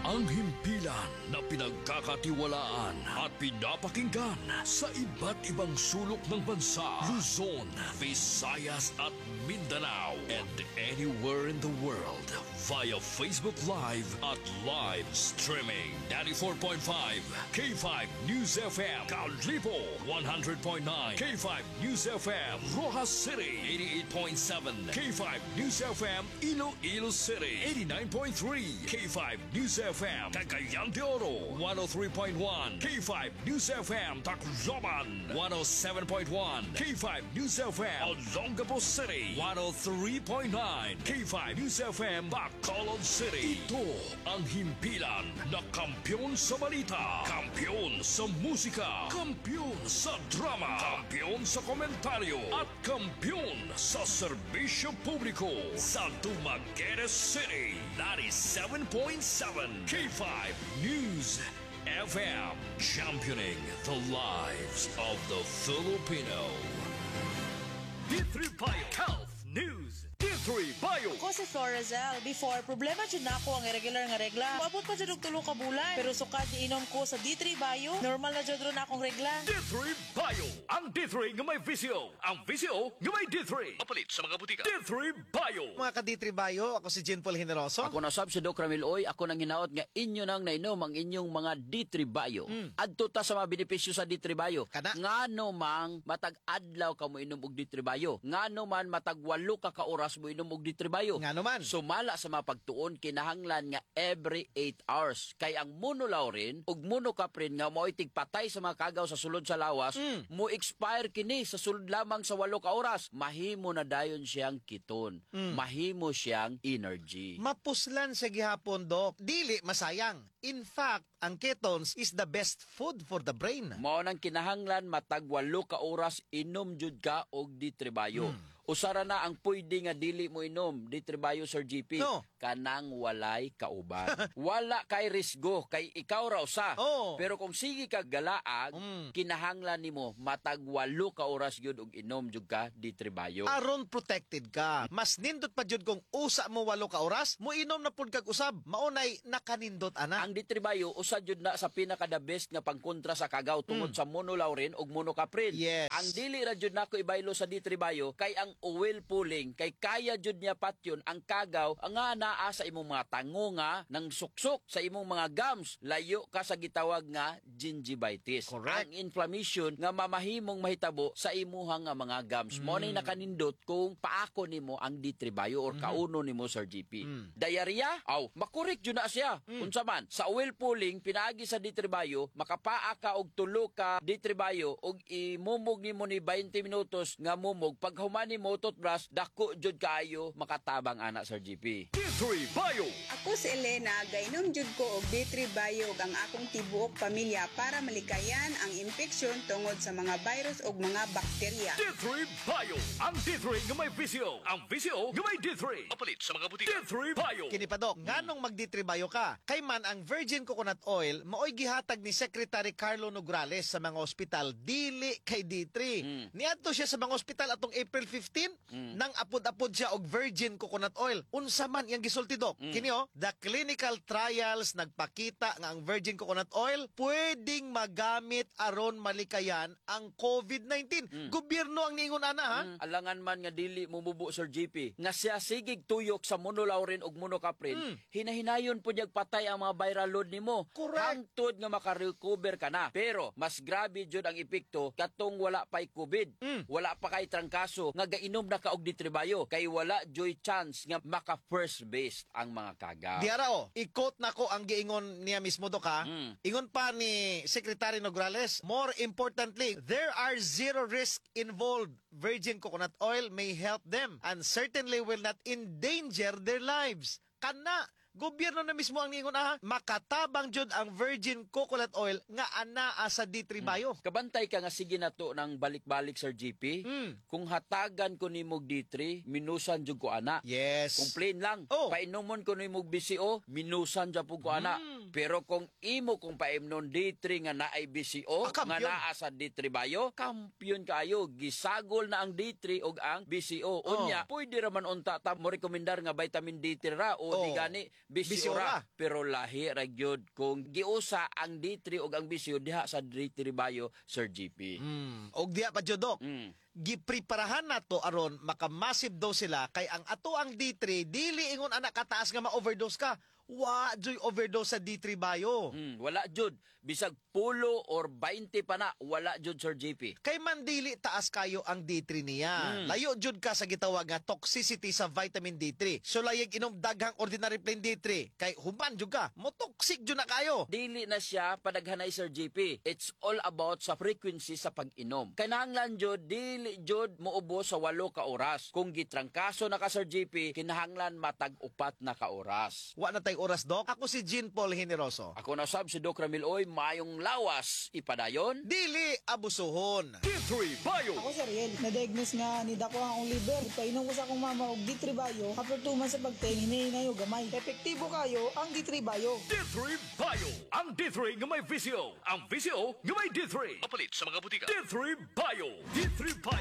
Ang himpilan na pinagkakatiwalaan at pinapakinggan sa iba't ibang sulok ng bansa, Luzon, Visayas at Mindanao, and anywhere in the world via Facebook Live at live streaming. 94.5 K5 News FM, Kalibo. 100.9 K5 News FM, Roxas City. 88.7 K5 News FM, Iloilo City. 89.3 K5 News FM, Cagayan de Oro. 103.1 K5 News FM, Tacloban. 107.1 K5 News FM, Olongapo City. 103.9 K5 News FM, Bacolod City. Ito ang himpilan na kampyon sa balita, kampyon sa musika, kampyon sa drama, kampyon sa komentaryo, at kampyon sa serbisyo publiko sa Dumaguete City. 97.7 K5 News FM, championing the lives of the Filipino. D3 Bio Health News. D3 Bio. Ako si Florazel. Before, problema jud nako ang irregular nga regla. Moabot pa jud og 3 ka bulan. Pero sukad inom ko sa D3 Bio, normal na jud ron akong regla. D3 Bio. Ang D3 nga may VCO. Ang VCO nga may D3. Mapalit sa mga butika. D3 Bio. Mga ka-D3 Bio, ako si Jean Paul Generoso. Ako na sab si Doc Ramil Oy, ako nang hinaot nga inyo nang nainom ang inyong mga D3 Bio. Adto ta sa mga benepisyo sa D3 Bio. Kana. Ngano mang matag adlaw ka mo inom og D3 Bio? Ngano man matag 8 ka ka oras mo inom og D3 Bio? Ngano man? Sumala sa mga pagtuon, kinahanglan nga every 8 hours. Kay ang monolaurin ug monocaprin nga mao'y tigpatay sa mga kagaw sa sulod sa lawas, mo expire kini sa sulod lamang sa 8 ka oras. Mahimo na dayon siyang ketone. Mahimo siyang energy. Mapuslan sa gihapon, Dok. Dili masayang. In fact, ang ketones is the best food for the brain. Mao nang kinahanglan matag 8 ka oras inom jud ka og D3 Bio. Usara na ang pwede nga dili mo inom D3 Bio, Sir GP? No. Kanang walay kauban. Wala kay risgo kay ikaw ra usa. Pero kung sige ka galaag, kinahanglan nimo matag 8 ka oras gyud og inom jud ka D3 Bio. Aron protected ka. Mas nindot pa jud kung usa mo 8 ka oras, mo inom na pud kag usab. Maunay nakanindot ana. Ang D3 Bio usa jud na sa pinaka the best nga pangkontra sa kagaw tungod sa monolaurin ug monocaprin. Ang dili ra jud nako ibaylo sa D3 Bio kay ang oil pulling, kay kaya jud niya patyon ang kagaw nga naa sa imong mga tango nga nang suksok sa imong mga gums. Layo ka sa gitawag nga gingivitis. Ang inflammation nga mamahimong mahitabo sa imuha nga mga gums. Mo ni nakanindot kung paako nimo ang D3 Bio or kauno nimo, Sir GP. Diarrhea? Aw, makurik jud na siya. Unsa man sa oil pulling pinaagi sa D3 Bio, makapaa ka og tulo ka D3 Bio og imumog nimo ni 20 minutos nga mumog, pag human nimo toothbrush, dako jud kaayo makatabang ana, Sir GP. D3 Bio. Ako si Elena, gainom jud ko og D3 Bio ug ang akong tibuok pamilya para malikayan ang impeksyon tungod sa mga virus ug mga bakterya. D3 Bio. Ang D3 nga may VCO. Ang VCO nga may D3. Mapalit sa mga butika. D3 Bio. Kini pa, Dok, nganong mag D3 Bio ka? Kay man ang virgin coconut oil maoy gihatag ni Secretary Carlo Nograles sa mga ospital, dili kay D3. Niadto siya sa mga ospital atong April 15, nang apod-apod siya og virgin coconut oil. Unsa man iyang gisulti, Dok? Kini oh, the clinical trials nagpakita nga ang virgin coconut oil pwedeng magamit aron malikayan ang COVID-19. Gobyerno ang niingon ana ha. Alangan man nga dili mumubo, Sir GP. Nga siya sigig tuyok sa monolaurin ug monocaprin, hinahinayon po niyag patay ang mga viral load nimo. Hangtod nga makarecover ka na. Pero mas grabe jud ang epekto katong wala pa'y COVID. Wala pa kay trangkaso nga gainom na ka og D3 Bio kay wala joy chance nga maka first base ang mga kagaw. Diara o, i-quote na ko ang giingon niya mismo, Dok, ha. Ingon pa ni Secretary Nograles, "More importantly, there are zero risk involved. Virgin coconut oil may help them and certainly will not endanger their lives." Kana, gobyerno na mismo ang niingon ah, makatabang jud ang virgin coconut oil nga anaa sa D3 Bio. Kabantay ka nga sige na to ng balik-balik, Sir GP. Kung hatagan ko nimog D3, minusan jud ko ana. Kung plain lang, painumon ko nimog VCO, minusan jud ko ana. Pero kung imo kung paimnon D3 nga naay VCO, Ah, nga kampiyon. naa sa D3 Bio, kampiyon kaayo. Gisagol na ang D3 ug ang VCO. Unya, pwede ra man unta ta mo rekomendar nga vitamin D3 ra o di gani Bisiora. Bisiora. Pero lahi ra gyud kung giusa ang D3 ug ang VCO diha sa D3 Bio, Sir GP. Og diha pa jud, Dok. Gipreparahan nato aron maka-massive dose sila kay ang ato ang D3 dili ingon anak kataas nga ma-overdose ka. Wa joy overdose sa D3 Bio. Wala jud, bisag pulo or 20 pa na, wala jud, Sir JP. Kay man dili taas kayo ang D3 niya. Layo jud ka sa gitawag nga toxicity sa vitamin D3. So layag inom daghang ordinary plain D3 kay human jud ka, mo toxic jud na kayo. Dili na siya padaghanay, Sir JP. It's all about sa frequency sa pag-inom. Kinahanglan jud dili jud moubos sa 8 ka oras. Kung gitrangkaso na ka, Sir JP, kinahanglan matag 4 na ka oras. Wa na tay oras, Dok. Ako si Jean Paul Generoso. Ako na sab si Doc Ramil Oy, mayong lawas ipadayon. Dili abusuhon. D3 Bio. Ako si Ariel, na-diagnose nga ni dako ang akong liver. Painom ko sa akong mama og D3 Bio. After 2 months sa pagteng, hinay og gamay. Epektibo kayo ang D3 Bio. D3 Bio. Ang D3 nga may VCO. Ang VCO nga may D3. Apalit sa mga butika. D3 Bio. D3 Bio.